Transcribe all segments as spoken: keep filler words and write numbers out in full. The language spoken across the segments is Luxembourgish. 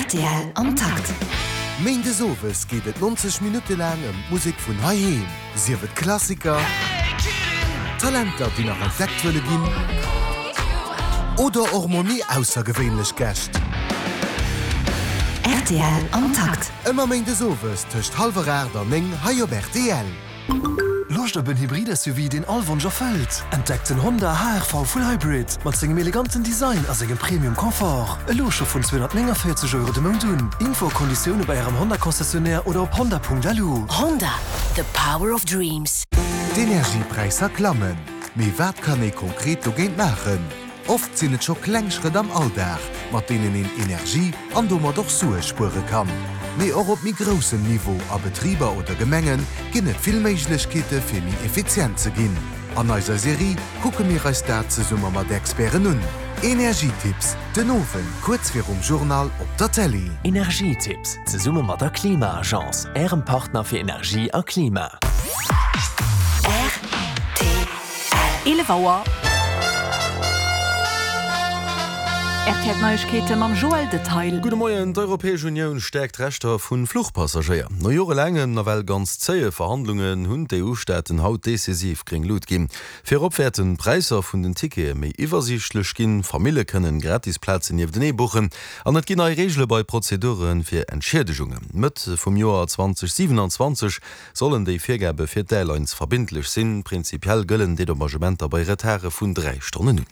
Rtl am Takt. Méindes owes geet et nonzeg Minutte laang ëm d'Musek vun heiheem, sief et Klassiker, Talenter, déi nach entdeckt wëlle ginn, oder och mol méi aussergewéinlech Gäscht. Rtl am Takt. Ëmmer méindes owes tëscht hallwer aacht an néng hei op rtl. Loscht op en Hybrid-S U V, deen all Wonsch erfëllt? Entdeckt den Honda H R V Full Hybrid mat sengem eleganten Design a sengem Premium Confort. Elo scho vun zweehonnertnénganvéierzeg Euro de Mount un. Info a Konditioune bei ärem Honda-Concessionnaire oder op honda Punkt L U. Honda, the power of dreams. D'Energiepräisser klammen. Mee wat kann ee konkret dogéint maachen? Oft sinn et scho kleng Schrëtt am Alldag, mat deenen een Energie an domat och Sue spuere kann. Mee och op méi groussem Niveau, a Betriber oder Gemengen, ginn et vill Méiglechkeete fir méi effizient ze ginn. An eiser Serie kucke mir eis dat zesumme mat Experten un. Energietipps, den Owend kuerz virum Journal op der Tëlee. Energietipps, zesumme mat der Klima-Agence, ärem Partner fir Energie a Klima. eelef Auer. R T L Neiegkeete mam Joël Detail. Gudde Moien, D'Europäesch Unioun stäerkt d'Rechter vu Fluchpassagéier. No jorelaangen, nawell ganz zéie Verhandlungen hunn d'E U-Staaten haut decisiv gréng Lut ginn. Virop wäerten d'Präisser vun den Tickete méi iwwersiichtlech ginn, Famille kënnen gratis Plazen nieftenee buchen an et ginn nei Reegele bei Prozedure fir Entschiedegungen. Mëtt vum Joer zweedausendsiewenanzwanzeg sollen déi Virgabe fir d'Airlines verbindlech sinn. Prinzipiell gëllen Dedommagementer bei Retarde vun dräi Stonnen un.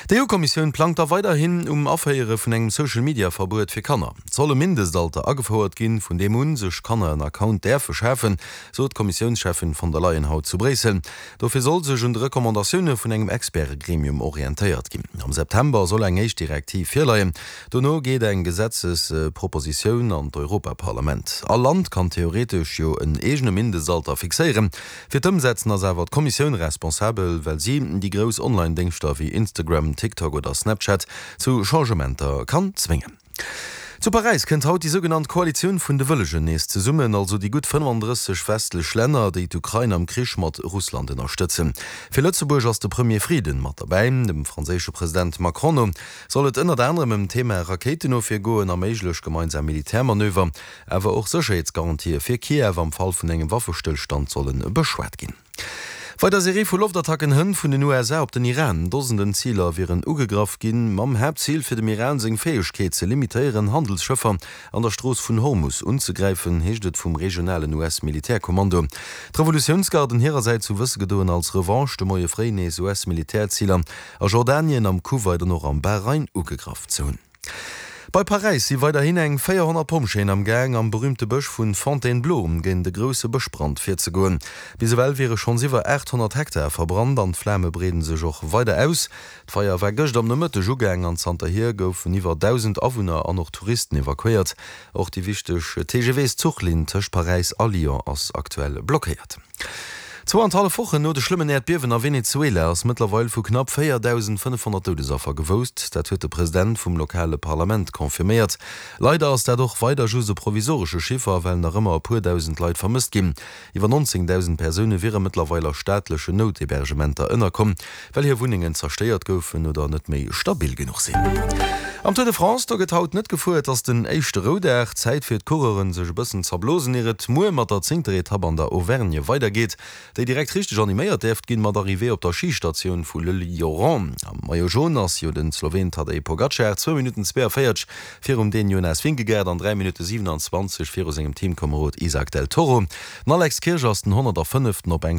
D'E U-Kommissioun plangt da weiderhin um Aféiere vun engem Social-Media-Verbuet fir Kanner. Et soll e Mindestalter agefouert ginn, vun deem un sech Kanner en Account däerfe schafen, sot d'Kommissiounscheffin von der Leyen haut zu Bréissel. Dofir soll sech un de Recommandatioune vun engem Experte-Gremium orientéiert ginn. Am September soll eng éischt Direktiv virleien. Dono geet eng Gesetzespropositioun an d'Europaparlament. All Land kann theoretesch jo en eegene Mindestalter fixéieren. Fir d'Ëmsetzen ass awer d'Kommissioun responsabel, well si déi grouss Online-Déngschter wéi Instagram, TikTok oder Snapchat zu Changementer kann zwéngen. Zu Paräis kënnt haut déi sougenannt Koalitioun vun de Wëllegen nees zesummen, also déi gutt fënnefandrësseg westlech Länner, déi d'Ukrain am Krich mat Russland ënnerstëtzen. Fir Lëtzebuerg ass de Premier Frieden mat derbäi. Dem franséische President Macron no soll et ënnert anerem ëm d'Thema Rakéitenofwier goen a méiglech gemeinsam Militärmanöver, awer och Sécherheetsgarantië fir Kiew am Fall vun engem Waffestëllstand solle beschwat ginn. Weider Serie vu Loftattacken hënt vun den U S A op den Iran. Dosenden Ziler wieren ugegraff ginn, mam Haaptzil fir dem Iran seng Fäegkeet ze limitéieren, Handelsschëffer an der Strooss vun Hormus unzegräifen, heescht et vum regionalen U S-Militärkommando. D'Revolutiounsgarden hirersäits hu wësse gedoen, als Revanche de Moie fréi nees U S-Militärziler a Jordanien, am Kuwait an och am Bahrain ugegraff ze hunn. Bei Paräis si weiderhin eng véierhonnert Pompjeeën am Gaang, am berüümte Bësch vu Fontainebleau géint de grousse Bëschbrand virzegoen. Bis ewell wiere schonns iwwer aathonnert Hektar verbrannt an d'Flame breede sech och weider aus. D'Feier war gëscht am Nomëtteg ugaang an zanterhier goufen iwwer dausend Awunner an och Touristen evakuéiert. Och déi wichteg T G Vs-Zuchlinn tëscht Paräis a Lyon ass aktuell blockéiert. Zwou an hallef Wochen no de schlëmmen Äerdbiewen a Venezuela ass mëttlerweil vu knapp véierdausendfënnefhonnert Doudesaffer gewousst. Dat huet de President vum lokale Parlament confirméiert. Leider ass dat och weider just e provisoresche Chiffer, well nach ëmmer e puer dausend Leit vermësst ginn. Iwwer nonzéngdausend Persoune wiere mëttlerweil a staatlechen Nouthébergementer ënnerkomm, well hir Wunnengen zerstéiert goufen oder net méi stabil genuch sinn. Am Tour de France, do gëtt haut net gefuer, et ass den éischte Roudag. Zäit fir d'Coureuren sech e bëssen z'erblosen, ier et muer mat der zéngter Etapp an der Auvergne weidergeet, déi direkt richteg animéiert däerft ginn, mat Arrivée op der Schistatioun vu Le Lioran. Am Maillot jaune ass jo den Sloween Tadej Pogacar, zwou Minutten zweeënvéierzeg virum Dän Jonas Vingegaard an dräi Minutte siewenanzwanzeg viru sengem Teamkomerod Isaac del Toro. Den Alex Kirsch ass den honnertafënneften op eng Stonn.